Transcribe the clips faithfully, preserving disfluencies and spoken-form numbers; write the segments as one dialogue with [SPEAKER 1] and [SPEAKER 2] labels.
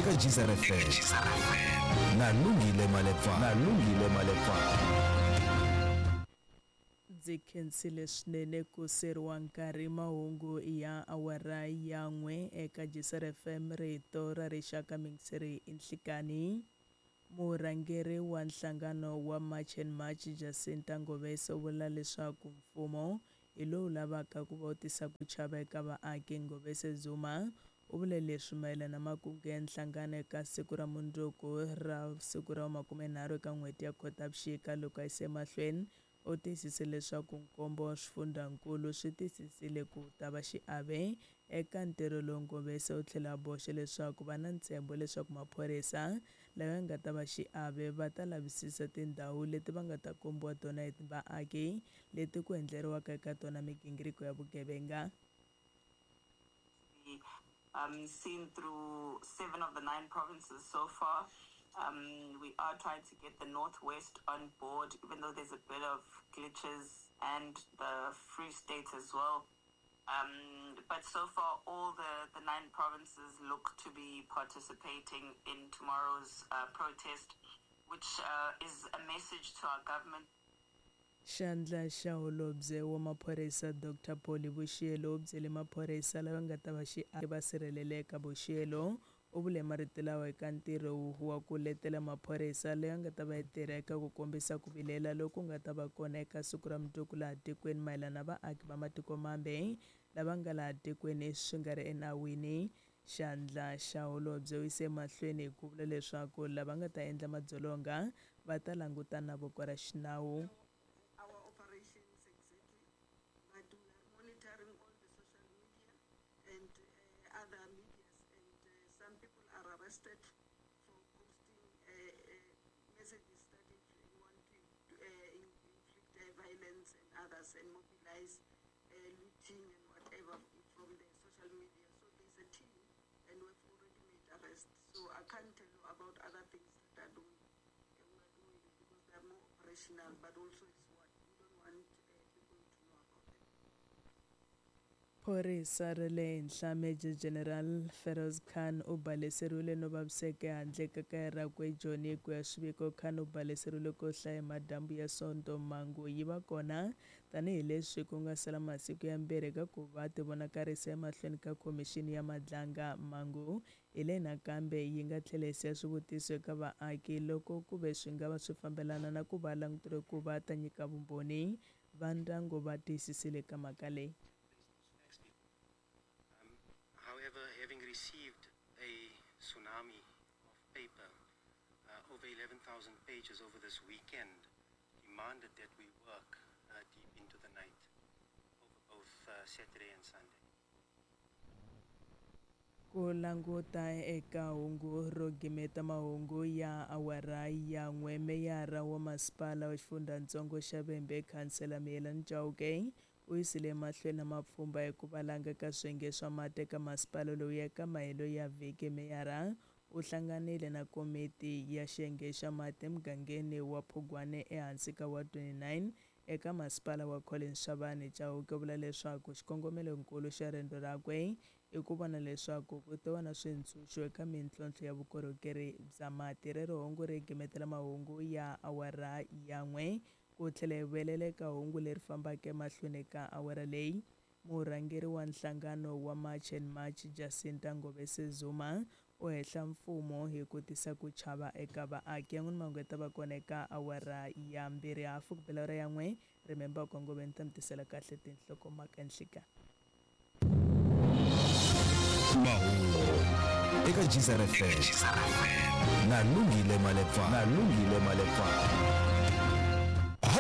[SPEAKER 1] Eka Geyser F M na Lungile Malepa na Lungile Malepa.
[SPEAKER 2] Ndzi khensile swinene ku seriwa nkarhi mahungu ya awara ya n'we eka Geyser F M rito ra rixaka mingiseri inhlikani. Murhangeri wa nhlangano wa March and March Jacinta Ngobese u vula leswaku mfumo hi lowu lavaka ku va u tisa ku chava eka vaaki. Ngobese Zuma u vule leswi mayelana na makungu ya nhlangano eka siku ra mundzuku ra siku ra makumenharhu eka n'hweti ya Khotavuxika. Loko a yise emahlweni u tiyisise leswaku nkombo wa swifundzankulu swi tiyisisile ku ta va xiave eka ntirho lowu. Ngobese u tlhela a boxa leswaku va na ntshembo leswaku maphorisa lawa ya nga ta va xiave va ta lavisisa tindhawu leti va nga ta kombiwa tona hi vaaki leti ku endleriwaka eka tona migingiriko ya vugevenga.
[SPEAKER 3] Um, seen through seven of the nine provinces so far. Um, we are trying to get the Northwest on board, even though there's a bit of glitches, and the Free State as well. Um, but so far, all the, the nine provinces look to be participating in tomorrow's uh, protest, which uh, is a message to our government.
[SPEAKER 2] Xandla xa holobye wa maphorisa Doctor Polly Boshielo u byele maphorisa lava nga ta va xiave va sirheleleka. Boshielo u vule marito lawa eka ntirho wa ku letela maphorisa leyi nga ta va yi tirha eka ku kombisa ku vilela loku nga ta va kona eka siku ra mundzuku laha tikweni mayelana na vaaki va matiko mambe lava nga laha tikweni swi nga ri enawini. Xandla xa holobye u yise emahlweni hi ku vula leswaku lava nga ta endla madzolonga va ta langutana na voko ra xinawu.
[SPEAKER 4] Arrested for posting uh, uh, messages that want to uh, inflict uh, violence and others and mobilize uh, looting and whatever from the social media. So there's a team, and we've already made arrests. So I can't tell you about other things that are doing, uh, we are doing because they are more operational, but also it's what we don't want uh, people to know about them.
[SPEAKER 2] Phorisa ra le henhla Major General Feroz Khan u baleseriwile no vaviseka ehandle ka kaya rakwe eJoni. Ku ya swiviko, Khan u baleseriwile ko hlaya madyambu ya Sonto. Mhangu yi va kona tanihileswi ku nga sala masiku yambirhi eka ku va tivonakarisa emahlweni ka khomixini ya Madlanga. Mhangu hi leyi nakambe yi nga tlhela yi siya swivutiso eka vaaki loko ku ve swi nga va swi fambelana na ku va languteriwe ku va ta nyika vumbhoni. Va ndyangu va tiyisisile ka mhaka leyi.
[SPEAKER 5] However, having received a tsunami of paper, uh, over eleven thousand pages over this weekend, demanded that we work uh, deep into the night over both uh, Saturday and Sunday.
[SPEAKER 2] Ku languta eka hungu ro gimeta mahungu ya awara ya n'we, meyara wa masipala wa xifundzatsongo xa Vhembe Khansela Miyelani Chauke u yisile emahlweni na mapfhumba hi ku valanga ka swiyenge swa mati eka masipala lowu eka mahelo ya vhiki. Meyara u hlanganile na komiti ya xiyenge xa mati emugangeni wa Phugwane ehansi ka wa twenty-nine eka masipala wa Collins Chabane. Chauke u vula leswaku xikongomelonkulu xa rendzo rakwe i ku vona leswaku ku ta va na swintshuxo eka mintlhontlho ya vukorhokeri bya mati. Rero hungu ri gimetela mahungu ya awara ya n'we. Ku tlhela hi vuyelela eka hungu leri fambaka emahlweni ka awara leyi, murhangeri wa nhlangano wa March and March Jacinta Ngobese Zuma u hehla mfumo hi ku tisa ku chava eka vaaki. Yan'wini mahungu ya ta va kona eka awara ya mbirhi hafu ku bela awara ya n'we. Remember ku Ngobeni ni ta mi tisela kahle tinhlokomhaka nhlika.
[SPEAKER 1] Mahungu eka Geyser F M na Lungile Malepa na Lungile Malepa.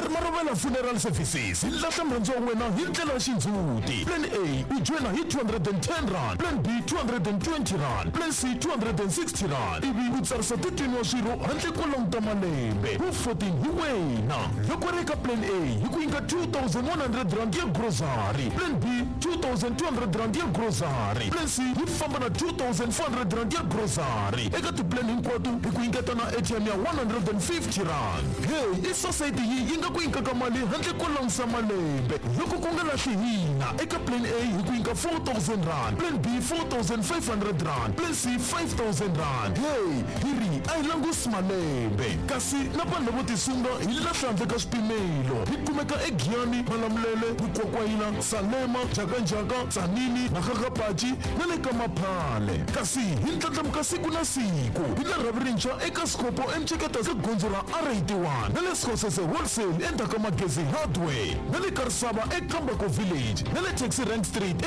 [SPEAKER 6] Marobela Funeral Services hi lahla murhandzi wa wena hi ndlela ya xindzhuti. Plan A u joyina hi two hundred and ten rand, Plan B two hundred and twenty rand, Plan C two hundred and sixty rand, ivi u tsarisa thirteen wa swirho handle ko languta malembe wu fourteen hi wena. Loko ri eka Plan A hi ku nyika two thousand one hundred rand ya grocery, Plan B two thousand two hundred rand ya grocery, Plan C yi famba na two thousand four hundred rand ya grocery. Eka tiplan hinkwato hi ku nyiketa na A T M ya one hundred and fifty rand. Hey, i society yi yi nga ku nyikaka mali handle ko langusa malembe loko ku nga lahli hina eka plan A hi ku nyika four thousand rand, plan B four thousand five hundred rand, plan C five thousand rand. Hey, hi ri a hi langusi malembe kasi na vanhu lavo tisunga hi lahla handle ka swipimelo. Hi kumeka eGiyani, Malamulele, Mukwakwayila, Salema, Jakanjaka, Tzaneen, Makgakgapachi na le ka Maphale. Kasi hi ndlandlamuka siku na siku hi na rhavi rintshwa eka Sikopo eMceketa ka gondzo ra R eighty-one na le Sekgosese Wholesale endzhaku ka Magezi Hardware na le Karisava eKambako Village na le Taxi Rank Street.